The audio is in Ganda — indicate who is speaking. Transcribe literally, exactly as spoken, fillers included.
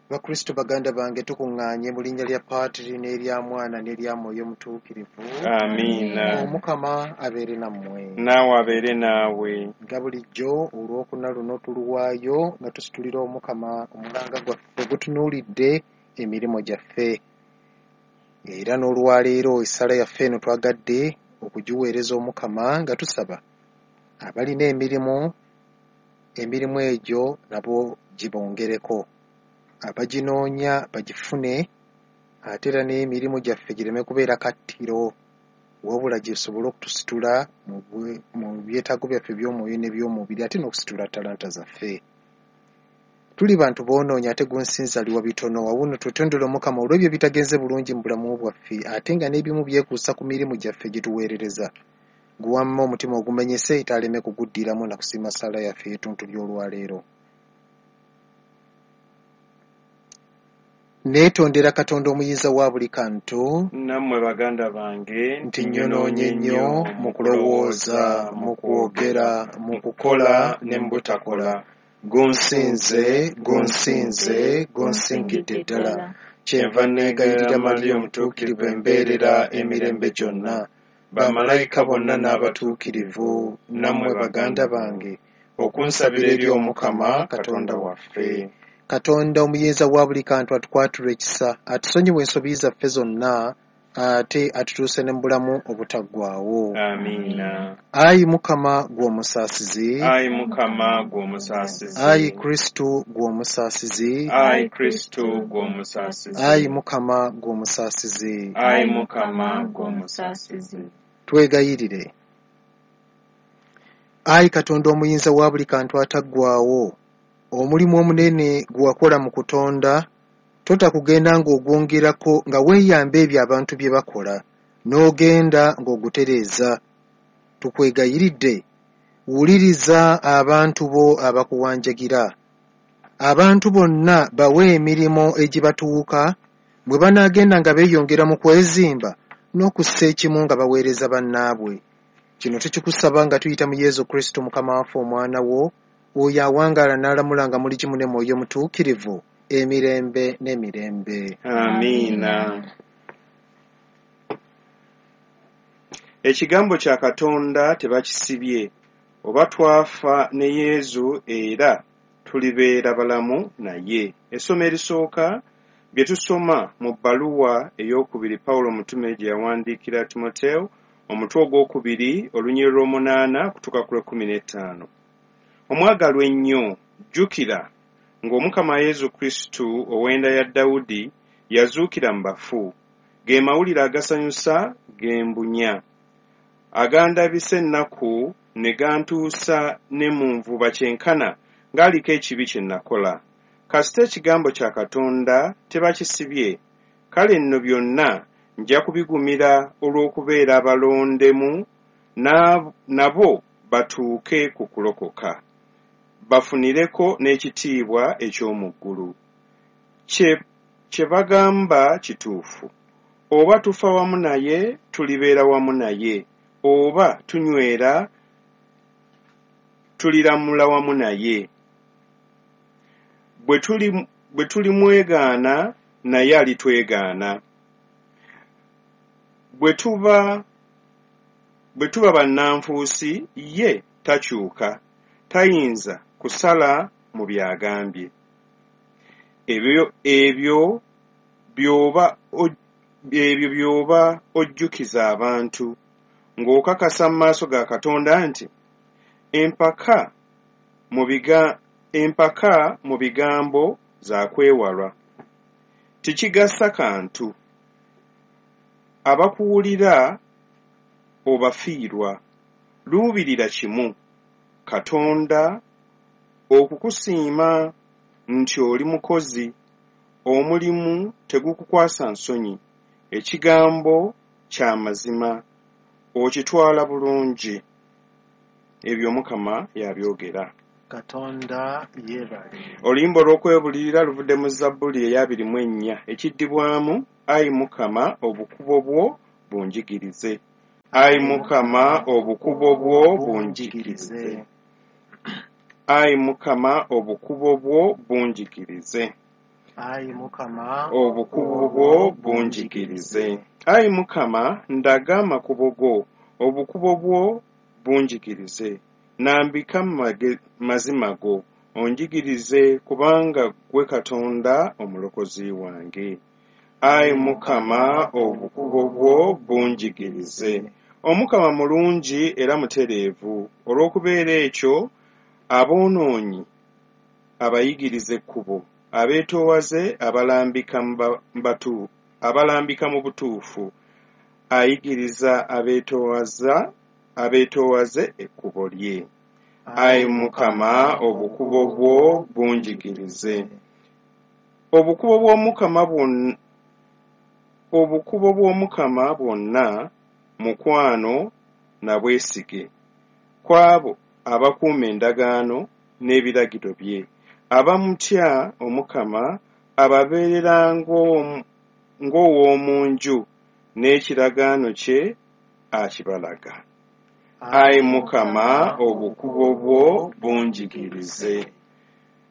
Speaker 1: Bakristo baganda bange, tukuŋŋaanye mu linnya lya Paatiri n'erya Mwana n'erya Mwoyo Mutuukirivu.
Speaker 2: Amiina.
Speaker 1: Omukama abeere nammwe.
Speaker 2: Naawe abeere naawe.
Speaker 1: Nga bulijjo olwokuna luno tuluwaayo nga tusitulira Omukama omulanga gwaffe gutunuulidde emirimu gyaffe. Era n'olwaleero essala yaffe eno twagadde okugiweereza Omukama nga tusaba abalina emirimu, emirimu egyo nabo gibongereko, abaginoonya bagifune, ate era n'emirimu gyaffe gireme kubeera kattiro, wabula gisobole okutusitula mu byetaago byaffe eby'omwoyo n'eby'omubiri, ate n'okusitula talanta zaffe. Tuli bantu boonoonyi ate gunsinzaliwa bitono. Wawuno twetondere Omukama olw'ebyo ebitagenze bulungi mu bulamu bwaffe, ate nga n'ebimu byekuusa ku mirimu gyaffe gye tuweerereza. Guwamma omutima ogumenyese taaleme kuguddiramu na kusiima ssaala yaffe ey'ettuntu ly'olwaleero. Neetondera Katonda omuyinza wa buli kantu,
Speaker 2: nammwe baganda bange,
Speaker 1: nti nnyonoonye nnyo mu kulowooza, mu kwogera, mu kukola ne mu butakola. Gunsinze, gunsinze, gunsingidde ddala. Kyenva neegayirira Mariya omutuukirivu embeerera emirembe gyonna, bamalayika bonna n'abatuukirivu, nammwe baganda bange,
Speaker 2: okunsabira eri Omukama Katonda waffe.
Speaker 1: Katonda omuyinza wa buli kantu atukwatirwe ekisa, atusonyiwe ensobi zaffe zonna, ate atutuuse ne mu bulamu obutaggwaawo.
Speaker 2: Amiina.
Speaker 1: Ayi Mukama ggwe omusaasizi.
Speaker 2: Ayi Mukama ggwe omusaasizi.
Speaker 1: Ayi Kristo ggwe omusaasizi.
Speaker 2: Ayi Kristo ggwe omusaasizi.
Speaker 1: Ayi Mukama ggwe omusaasizi.
Speaker 2: Ayi Mukama ggwe omusaasizi.
Speaker 1: Twegayirire. Ayi Katonda omuyinza wa buli kantu ataggwaawo, omulimu omunene gwe wakola mu kutonda, tota kugenda ng'ogwongerako nga weeyamba ebyo abantu bye bakola, n'ogenda ng'ogutereeza. Tukwegayiridde, wuliriza abantu bo abakuwanjagira. Abantu bonna bawe emirimu egibatuuka, bwe banaagenda nga beeyongera mu kwezimba n'okussa ekimu nga baweereza bannaabwe. Kino tukikusaba nga tuyita mu Yesu Kristo Mukama waffe Omwana wo, oyo awangaala n'alamula nga muli kimu ne Mwoyo Mutuukirivu, emirembe n'emirembe.
Speaker 2: Amiina. Ekigambo kya Katonda tebakisibye, oba twafa ne Yesu era tulibeera balamu naye. Essomo erisooka bye tusoma mu bbaluwa ey'okubiri Pawulo omutume gye yawandiikira Timoteewo, omutwe ogwokubiri olunyiriri lw'omunaana kutuuka ku lw'ekkumi n'ettaano. Omwagalwa ennyo, jjukira ng'Omukama Yesu Kristo ow'enda ya Dawudi yazuukira mu bafu, ge mawulire agasanyusa ge mbunya, agandabisa ennaku ne gantuusa ne mu nvuba kyenkana ng'aliko ekibi kye nakola. Kasita ekigambo kya Katonda tebakisibye, kale nno byonna nja kubigumira olw'okubeera abalondemu nabo batuuke ku kulokoka, bafunireko n'ekitiibwa eky'omu ggulu. Kye, kye bagamba kituufu, oba tufa wamu naye tulibeera wamu naye, oba tunywera tuliramula wamu naye. Bwe tuli bwe tulimwegaana naye alitwegaana. Bwe tuba bwe tuba bannanfuusi ye takyuka, tayinza kusala mu byagambye. Ebyo ebyo by'oba ebyo by'oba ojjukiza abantu, ng'okakasa mu maaso ga Katonda nti empaka mu biga empaka mu bigambo za kwewalwa. Tekigasa kantu, abakuwulira obafiirwa. Luubirira kimu, Katonda okukusiima nti oli mukozi, omulimu tegukukwasa nsonyi, ekigambo kya mazima okitwala bulungi. Ebyo Omukama yabyogera.
Speaker 1: Katonda yeebale.
Speaker 2: Oluyimba olw'okwebulirira luvudde mu Zabbuli ey'abiri mu ennya, ekiddibwamu Ayi Mukama obukubo bwo bunjigirize. Ayi Mukama obukubo bwo bunjigirize. Ayi Mukama, obukubo bwo bunjigirize.
Speaker 1: Ayi Mukama,
Speaker 2: obukubo bwo bunjigirize. Ayi Mukama, ndaga amakubo go, obukubo bwo bunjigirize. Nambika mu mazima go, onjigirize, kubanga ggwe Katonda omulokozi wange. Ayi Mukama, obukubo bwo bunjigirize. Omukama mulungi era mutereevu, olw'okubeera ekyo aboonoonyi abayigiriza ekkubo, abeetoowaze abalambika mu abalambika mu butuufu, ayigiriza abeetoowaza abeetoowaze ekkubo lye. Ayi Mukama, obukubo bwo bunjigirize. Obukubo bw'Omukama bwonna obukubo bw'Omukama bwonna mukwano na bwesige ku abo abakuuma endagaano n'ebiragiro bye. Abamutya Omukama ababeerera ng'ow'omu nju, n'ekiragaano kye akibalaga. Ayi Mukama, obukubo bwo bunjigirize.